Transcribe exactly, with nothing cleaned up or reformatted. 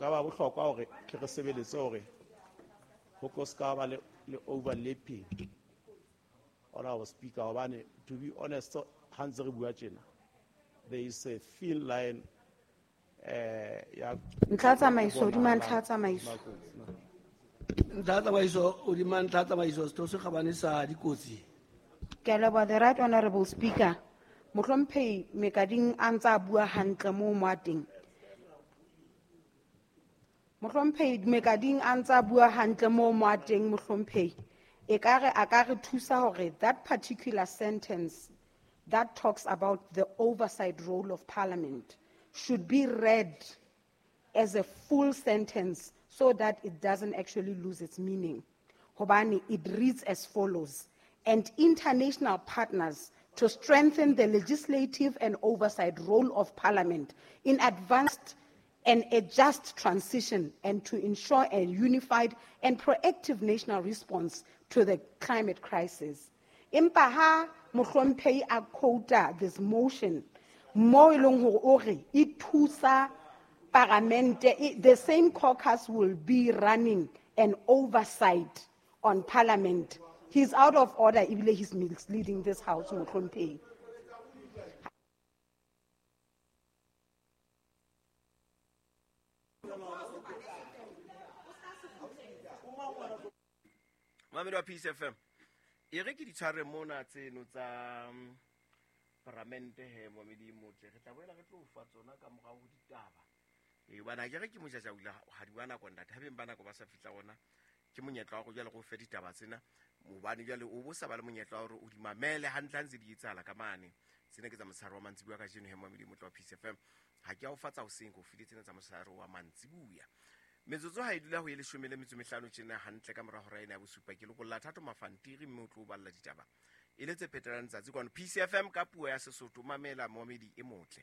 ka ba bohlokwa hore ke re sebeletse hore ho ko ska ba le, le overlapping honorable speaker hobane to be honest ha ntse re bua tjena there is a thin line eh ya Ntlha tsamaiso, hodima ntlha tsamaiso. Ntlha tsamaiso, hodima ntlha tsamaiso, Setho se Kgabane sa Dikotsi. Ke a leboha, the right honorable speaker. Mohlomphehi Mekading a ntsa bua hantle moo mo a teng. Mohlomphehi Mekading a ntsa bua hantle moo mo a teng mohlomphehi. E ka re a ka re thusa hore that particular sentence that talks about the oversight role of parliament should be read as a full sentence so that it doesn't actually lose its meaning. Hobane, it reads as follows: and international partners to strengthen the legislative and oversight role of parliament in advanced and a just transition and to ensure a unified and proactive national response to the climate crisis. Empa ha mohlomphehi a quota this motion, mo e leng hore o re e thusa paramente, e, the same caucus will be running an oversight on parliament. He's out of order, ebile he's misleading this house, mohlomphehi. Mamedi wa Peace F M, e re ke di tshware mona tseno tsa, mm, paramente he, Mamedi e motle. Re tla boela re tlo fa tsona ka morao ho ditaba. E, hobane ha ke re ke mojajau la ha di wa nako ntate, ha beng ba nako ba sa fihla hona, ke monyetla wa hore jwale re o fe ditaba tsena, hobane jwale o bo sa ba le monyetla wa hore o di mamele hantle ha ntse di etsahala ka mane. Tsena ke tsa motshehare wa mantsibuya kajeno he, Mamedi e motle wa Peace F M. Ha ke a o fa tsa hoseng, ke o file tsena tsa motshehare wa mantsibuya. Metsotso ha e dula ho e leshome le metso e mehlano tjena hantle ka mora hora ena ya bosupa. Ke lokolla Thato Mafantiri mme o tlo o balla ditaba e le tse phetelang tsatsi kwano Peace F M ka puo ya Sesotho. Mamela Momedi e motle.